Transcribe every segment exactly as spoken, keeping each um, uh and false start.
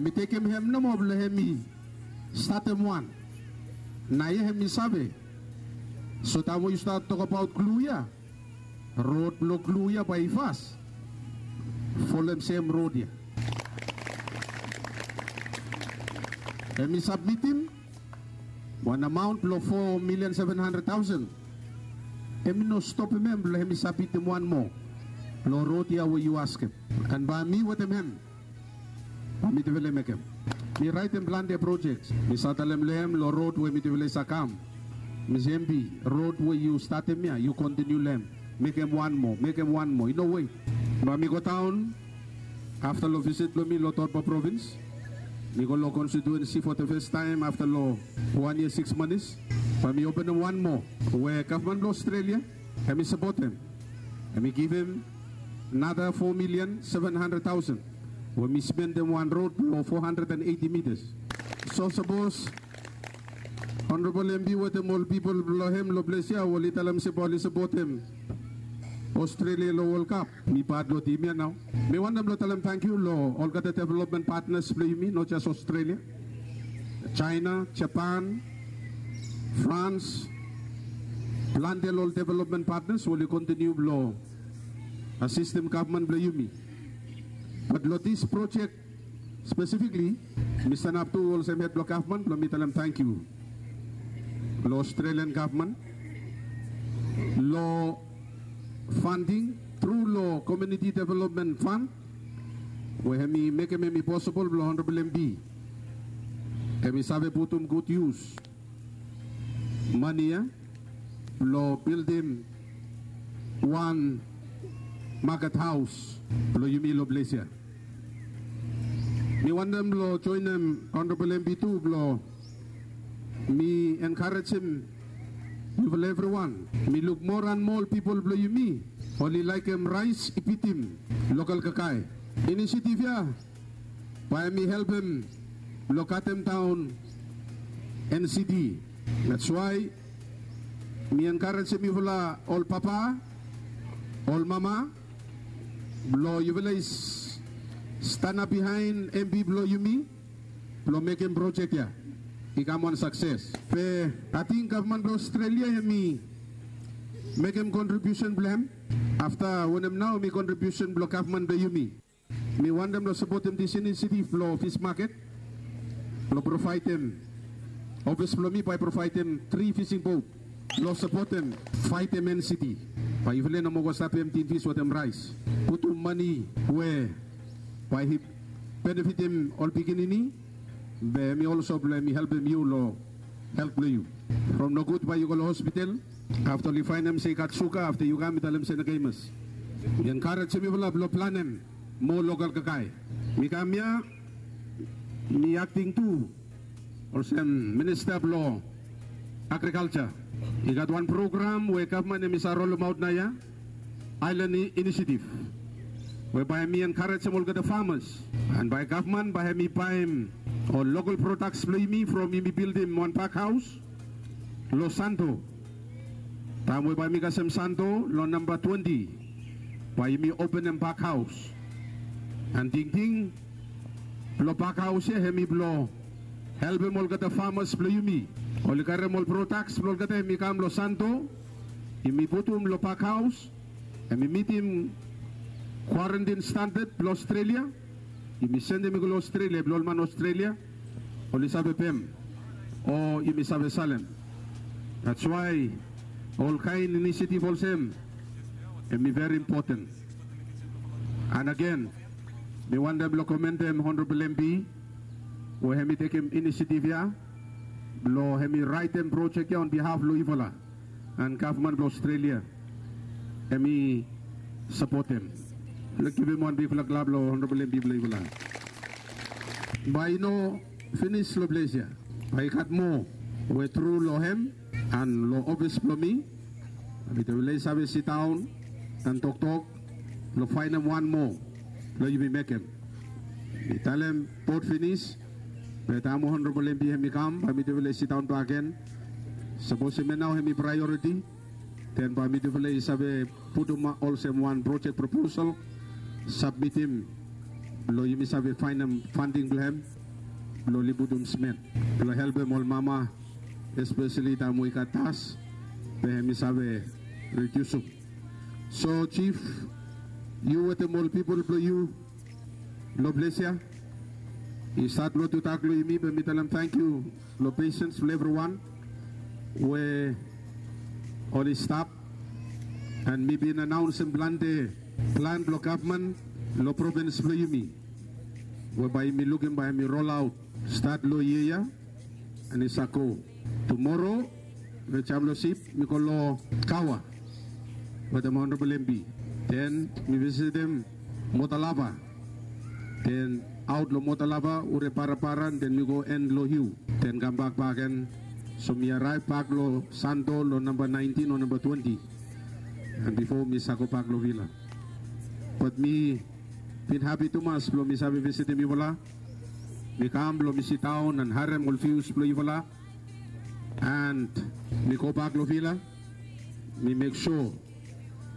Mi tekem hem nomo blong hemi statem wan. Naoia hemi save. So taem we yu stat tokbaot Glu ya, rod blong Glu ya bae i fas folem sem rod ya. Hemi sabmitim wan amaon blong fo milian seven handred taosen. Hemi no stopem hem blong hemi sabmitim wan moa blong rod ya we yu askem. An bae mi wetem hem bae mitufala i mekem. Mi raetem plante projek. Mi save talem long hem long rod we mitufala i save kam. Mi se, "Embi, rod we yu statem ya, yu kontiniu long hem. Mekem wan moa, mekem wan moa. I no wet." Bae mi godaon afta long visit blong mi long Torba provins. Mi go long konstitiuensi for the first time afta long wan yia sikis manis. Bae mi openem wan moa we gavman blong Australia hemi sapotem. Hemi givim nara fo milian seven handred taosen we mi spendem wan rod blong fo handred an eiti mitas. So sapos Honorabol Embi wetem ol pipol blong hem long ples ya oli talem se bae oli sapotem Australia long World Cup, mi pat long tim ya nao. Mi wantem blong talem tangkiu long olgeta development partners blong yumi, not just Australia. China, Japan, France, plante long ol development partners we oli kontiniu blong asistem gavman blong yumi. Bat long dis projek spesifikli, mi stanap tu olsem hed blong gavman blong mi talem tangkiu long Australian gavman long funding tru long Community Development Fund we hemi mekem hemi posibol blong Honorabol Embi hemi save putum gud yus mane ya blong bildim wan maket haos blong yumi long ples ya. Mi wantem blong joenem Honorabol Embi tu blong mi enkarejem yufala evriwan. Mi luk moa an moa ol pipol blong yumi oli laekem raes i bitim lokal kakae. Inisiativ ya bae hemi helpem blong katem daon N C D. That's why mi enkarejem yufala ol papa, ol mama, blong yufala i stanap biaen Embi blong yumi blong mekem projek ya i kam wan sakses. Be ating gavman blong Australia hemi mekem kontribiusen blong hem afta wanem nao hemi kontribiusen blong gavman blong yumi. Mi wantem long sapotem dis inisiativ blong fis maket blong provaedem, ofis blong mi bae i provaedem tri fising bot blong sapotem faetem N C D. Bae yufala i no moa go stap emti fis wetem raes. Putum mane we bae i benefitem ol pikinini, be hemi olso blong hemi helpem yu long helt blong yu. From nogud bae yu go long hospital afta oli faenem se i gat suga, afta yu kam i talem se no kemas. Mi enkarejem yufala blong planem moa lokal kakae. Mi kam ya, mi akting tu olsem minista blong agrikalja. I gat wan program we gavman hemi save rolemaot naoia, Island Initiative, we bae hemi enkarejem olgeta famas, an bae gavman bae hemi baem ol lokal prodaks blong yumi from yumi bildim wan pak haos long Santo. Taem we bae mi kasem Santo long namba twenti, bae yumi openem pak haos. An tingting blong pak haos ya hemi blong helpem olgeta famas blong yumi. Oli karem ol prodaks blong olgeta hemi kam long Santo, yumi putum long pak haos, hemi mitim kwarantin standad blong Australia. Yumi sendem i go long Australia blong ol man Australia oli save pem o yumi save salem. That's why olkaen inisiativ olsem hemi veri impoten. An agen, mi wantem blong komendem Honorabol Embi we hemi tekem inisiativ ya blong hemi raetem projek ya on bihaf blong yufala. An gavman blong Australia hemi sapotem. Let's givim wan bigfala klap long Honorabol Embi blong yufala. Bae i no finis long ples ya. Bae i gat moa we tru long hem an long ofis blong mi, mitufala i save sidaon an toktok blong faenem wan moa blong yumi mekem. Mi talem bot finis, be taem we Honorabol Embi hemi kam bae mitufala i sidaon bakegen. Sapos hemia nao hemi praeoriti, den bae mitufala i save putum olsem wan projek proposal, sabmitim Blong yumi save faenem fanding blong hem blong oli putum simen blong helpem ol mama, espeseli taem we i gat das, be hem i save ridiusum. So Jif, yu wetem ol pipol blong yu long ples ya, i stat long tudak long yumi, be mi talem tangkiu long pesens blong evriwan we oli stap. An mi bin anaonsem plante plan blong gavman long provins blong yumi, we bae yumi lukim bae hem i rolaot stat long yia ya. An i save go tumoro long Jamlo Sip, mi go long Kawa wetem Honorabol M P. Den mi visitem Motalava. Den aot long Motalava, Ure Parapara, den mi go en long Hiu. Den kambak bakegen. So mi araev bak long Santo long namba naentin o namba twenti. An bifo mi save gobak long Vila. Bat mi bin hapi tumas blong mi save visitem yufala. Mi kam blong mi sidaon an harem ol vius blong yufala. An mi gobak long Vila. Mi mek sua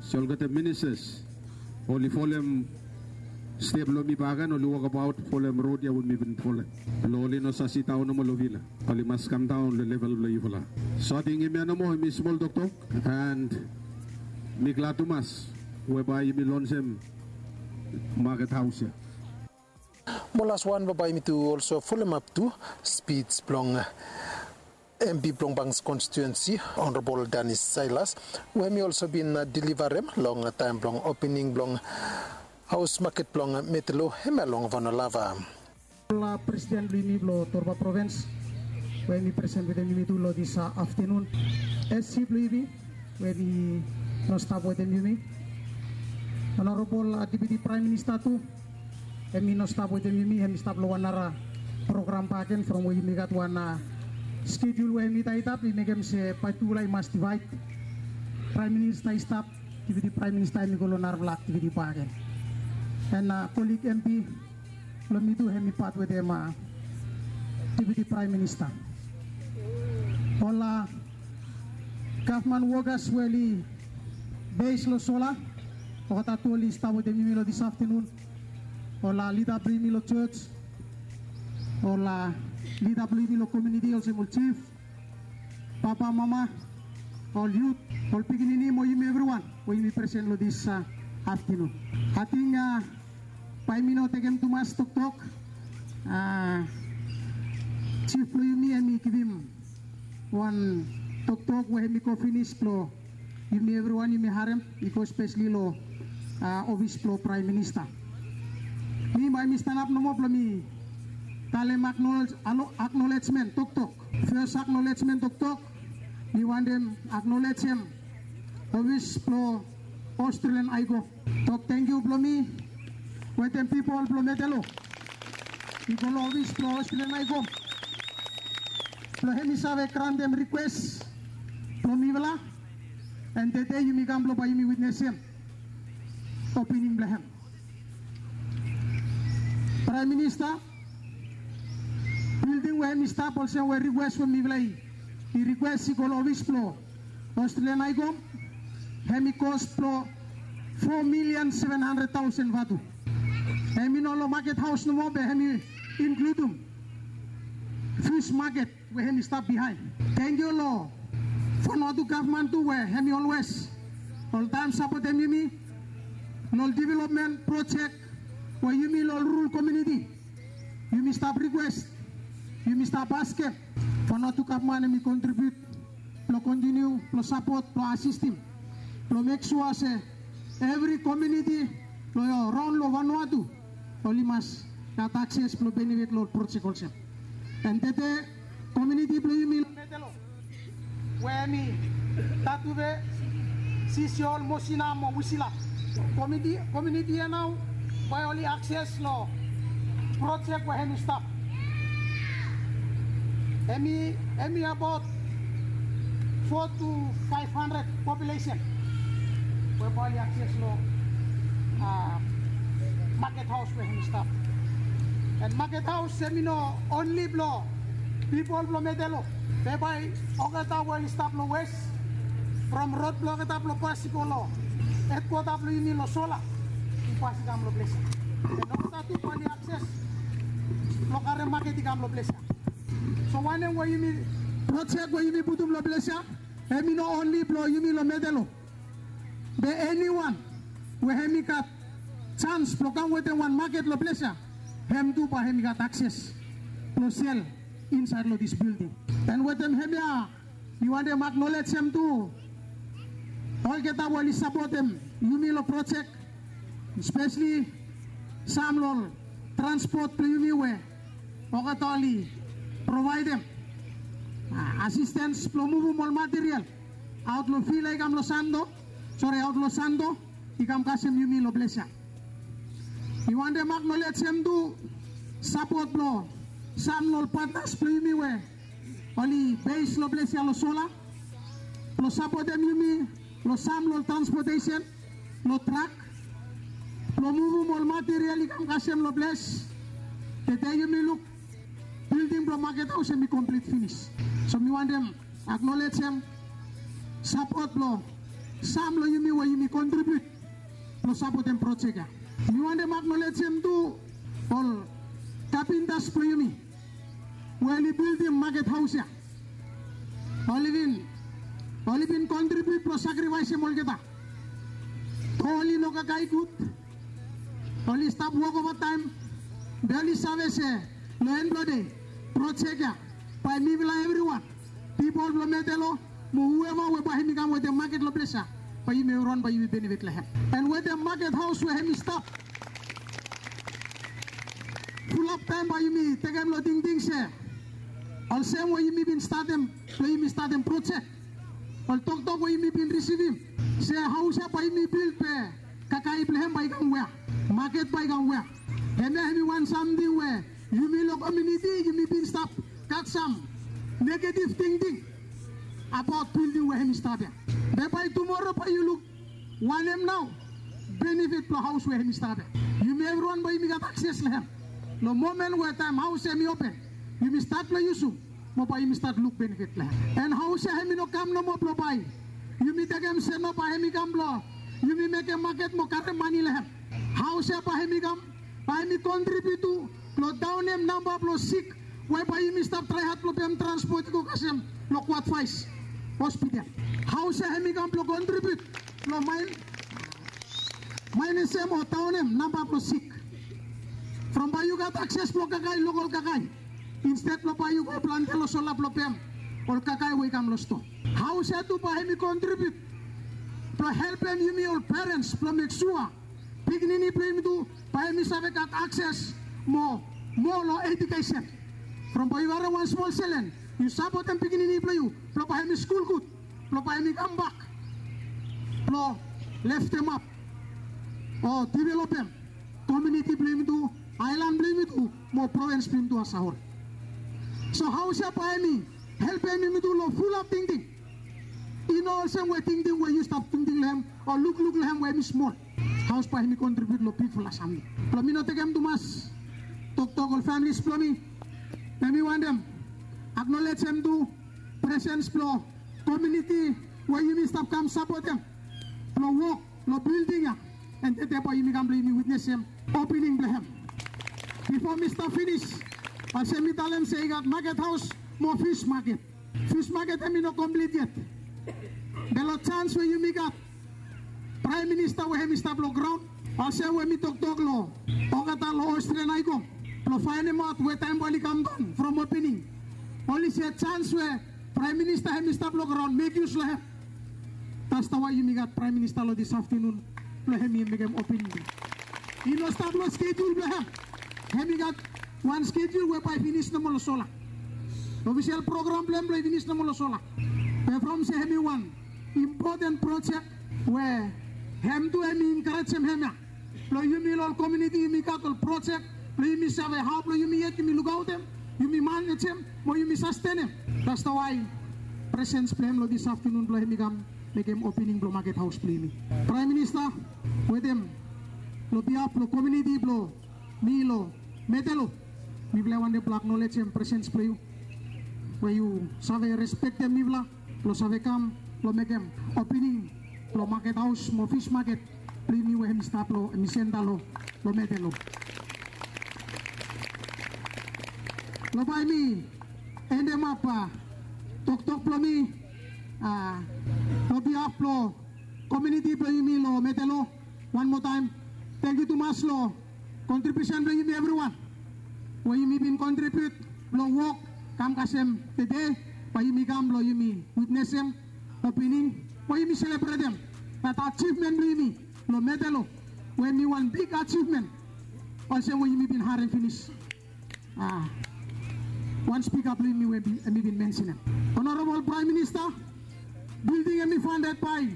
se olgeta ministas oli folem step blong mi bakegen, oli wokbaot folem rod ya we mi bin folem. Blong oli no save sidaon nomo long Vila. Oli mas kamdaon long level blong yufala. So ating hemia nomo, hemi smol toktok. An mi glad tumas we bae yumi lonsem maket haos ya. Mo laswan bae bae yumi tu olso folemap tu spij blong M P blong Banks konstituensi, Honorabol Danis Sailas, we hemi olso bin delivarem long taem blong opening blong haos maket blong Metelo hemia long Vanua Lava. Ol presiden blong yumi blong Torba Provins we hemi presen wetem yumi tu long dis aftenun. S C blong yumi we hemi no stap wetem yumi. Honorabol Deputi Praem Minista tu, hemi no stap wetem yumi, hemi stap long wan nara program bakegen from we yumi gat wan skejul we hemi taetap, i mekem se bae tufala i mas divaed. Praem Minista i stap, Deputi Praem Minista hemi go long narafala aktiviti bakegen. An kolig M P blong mi tu hemi pat wetem Deputi Praem Minista. Ol gavman wokas we oli bes long sola, olgeta tu oli stap wetem yumi long dis aftenun. Ol lida blong yumi long jos, ol lida blong yumi long komuniti, olsem ol jif, papa, mama, ol yut, ol pikinini mo yumi evriwan we yumi presen long dis aftenun. Ating bae mi no tekem tumas toktok. Jif blong yumi hemi givim wan toktok we hemi go finis blong yumi evriwan yumi harem, i go speseli long ofis blong Praem Minista. Mi bae mi stanap nomo blong mi talem aknolejmen toktok. Fes aknolejmen toktok, mi wantem aknolejem ofis blong Australian High Court. Tok tangkiu blong mi wetem pipol blong Metelo i go long ofis blong Australian High Court blong hemi save grantem rikwes blong mifala. An tede yumi kam blong bae yumi witnesem opening blong hem. Praem Minista, bilding we hemi stap olsem we rikwes we mifala i rikwes i go long ofis blong Australian High Court, hemi kos blong fo milian seven handred taosen vatu. Hemi no long maket haos nomo be hemi inkludum fis maket we hemi stap bihaen. Tangkiu long Vanuatu gavman tu we hemi olwes oltaem sapotem yumi long ol developmen projek we yumi long ol rural komuniti yumi stap rikwes, yumi stap askem Vanuatu gavman hemi kontribiut blong kontiniu blong sapot blong asistem blong mek sua se evri komuniti long raon long Vanuatu oli mas gat akses blong benefit long ol projek olsem. An tede komuniti blong yumi long Metelo we hemi Tatuve, Sisiol, Mosina mo Wisila. Komuniti, komuniti ya nao bae oli akses long projek we hemi stap. Hemi, hemi abaot fo tu faef handred populesen we bae oli akses long maket haos we hemi stap. An maket haos hemi no onli blong pipol blong Metelo, be bae olgeta we oli stap long wes, from rod blong olgeta blong pas i go long hedkwota blong yumi long sola, i pas i kam long ples ya. Olgeta tu blong oli akses blong karem maket i kam long ples ya. So wanem we yumi projek we yumi putum long ples ya, hemi no onli blong yumi long Metelo. Be eniwan we hemi gat jans blong kam wetem wan maket long ples ya, hem tu bae hemi gat akses blong sel insaed long dis bilding. An wetem hemia mi wantem aknolejem tu olgeta we oli sapotem yumi long projek, spesli sam long ol transpot blong yumi we olgeta oli provaedem asistens blong muvum ol material aot long fil ya i kam long Santo, sore, aot long Santo i kam kasem yumi long ples ya. Mi wantem aknolejem tu sapot blong sam long ol patnas blong yumi we oli bes long ples ya long sola blong sapotem yumi long sam long ol transpotesen, long trak blong muvum ol material i kam kasem long ples. Tede yumi luk bilding blong maket haos hemi komplit finis. So mi wantem aknolejem sapot blong sam long yumi we yumi kontribiut blong sapotem projek ya. Mi wantem aknolejem tu ol kapintas blong yumi we oli bildim maket haos ya. Oli bin, oli bin kontribiut blong sakrifaesem olgeta. Oli no kakae gud, oli stap wok ovataem, be oli save se long en blong dei projek ya bae mifala evriwan, pipol blong Metelo mo hueva we bae hemi kam wetem maket long ples ya, bae yumi evriwan bae yumi benefit long hem. An wetem maket haos we hemi stap fulap taem bae yumi tekem long tingting se olsem we yumi bin statem, blong yumi statem projek, ol toktok we yumi bin risivim se haos ya bae yumi bild be kakae blong hem bae i kam wea, maket bae i kam wea. Hemia hemi wan samting we yumi long komuniti yumi bin stap gat sam negetiv tingting abaot bilding we hemi stap ya. Be bae tumora bae yu luk wanem nao benefit blong haos we hemi stap ya. Yumi evriwan bae yumi gat akses long hem. Long momen we taem haos hemi open, yumi stat blong yusum mo bae yumi stat luk benefit long hem. An haos ya hemi no kam nomo blong bae yumi tekem se no bae hemi kam blong yumi mekem maket mo karem mane long hem. Haos ya bae hemi kam, bae hemi kontribiut tu blong daonem namba blong sik we bae yumi stap trae had blong pem transpot i go kasem long Kwat Fais hospital. Haos ya hemi kam blong kontribiut blong maen, maen sem o daonem namba blong sik. From bae yu gat akses blong kakae, lokol kakae, insted blong bae yu go plante long sola blong pem ol kakae we i kam long stoa. Haos ya tu bae hemi kontribiut blong helpem yumi ol perens blong mek sua pikinini blong yumi tu bae hemi save gat akses mo, mo long ejukesen. From bae yu harem wan smol selen, yu sapotem pikinini blong yu blong bae hemi skul gud, blong bae hemi kambak blong leftemap o developem komuniti blong yumi tu, aelan blong yumi tu, mo provins blong yumi tu asahol. So haos ya bae hemi helpem yumi tu long fulap tingting. I no olsem we tingting we yu stap tingting long hem o lukluk long hem we hemi smol. Haos bae hemi kontribiut long bigfala samting. Blong mi no tekem tumas toktok ol familis blong mi, be mi wantem aknolejem tu presens blong komuniti we yumi stap kam sapotem blong wok long bilding ya. An tede bae yumi kam blong yumi witnesem opening blong hem. Bifo mi stap finis, olsem mi talem se i gat maket haos mo fis maket. Fis maket hemi no komplit yet. Be long jans we yumi gat Praem Minista we hemi stap long graon, olsem we mi toktok long olgeta long Ostria na i go blong faenemaot we taem bae oli kamdaon from opening, oli se jans we Praem Minista hemi stap long graon, mek yus long hem. That's the why yumi gat Praem Minista long this afternoon blong hemi mekem opening. I no stap long skedul blong hem. Hemi gat wan skedul we bae finis nomo long sola. Ofisel program blong hem bae finis nomo long sola. Be from se hemi wan impoten projek we hem tu hemi enkarejem hem ya blong yumi long ol komuniti, yumi gat ol projek blong yumi save hao blong yumi yet yumi lukaotem, yumi manejem mo yumi sastenem. That's the why presens blong hem long this afternoon blong hemi kam mekem opening blong maket haos blong yumi. Praem Minista, wetem long bihaf blong komuniti blong mi long Metelo, mifala i wantem blong aknolejem presens blong yu we yu save respektem mifala blong save kam blong mekem opening blong maket haos mo fis maket blong yumi we hemi stap long, hemi senta long lo Metelo. Lo bae mi endemap toktok blo mi lo bihaf blo komuniti blo yumi lo Metelo. Wan moa taem, tangkiu tumas lo kontribiusen blo yumi evriwan we yumi bin kontribiut blo wok kam kasem tede, bae yumi kam blo yumi witnesem opening we yumi selebretem dat ajivmen blo yumi lo Metelo, we mi wan big ajivmen. Olsem we yumi bin harem finis wan spika blo yumi we mi bin mensenem, Honorabol Praem Minista, bilding hemi fandet bae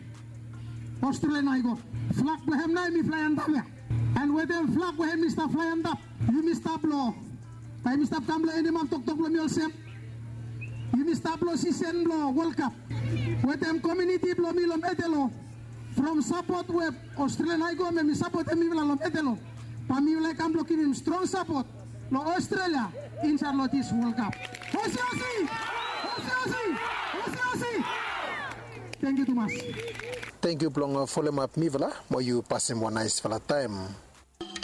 Australian High Court. Flag blo hem nao hemi flae antap ya. An wetem flag we hemi stap flae antap, yumi stap lo, bae yumi stap kam blo endemap toktok blo mi olsem, yumi stap lo sisen blo World Cup. Wetem komuniti blo mi lo Metelo, from sapot we Australian High Court hemi sapotem mifala lo Metelo, bae mifala i kam blo givim strong sapot lo Australia insaed lo dis World Cup. Osi, osi! Osi, osi! Osi, osi! Tangkiu tumas. Tangkiu blong folemap mifala mo yu pasem wan naesfala taem.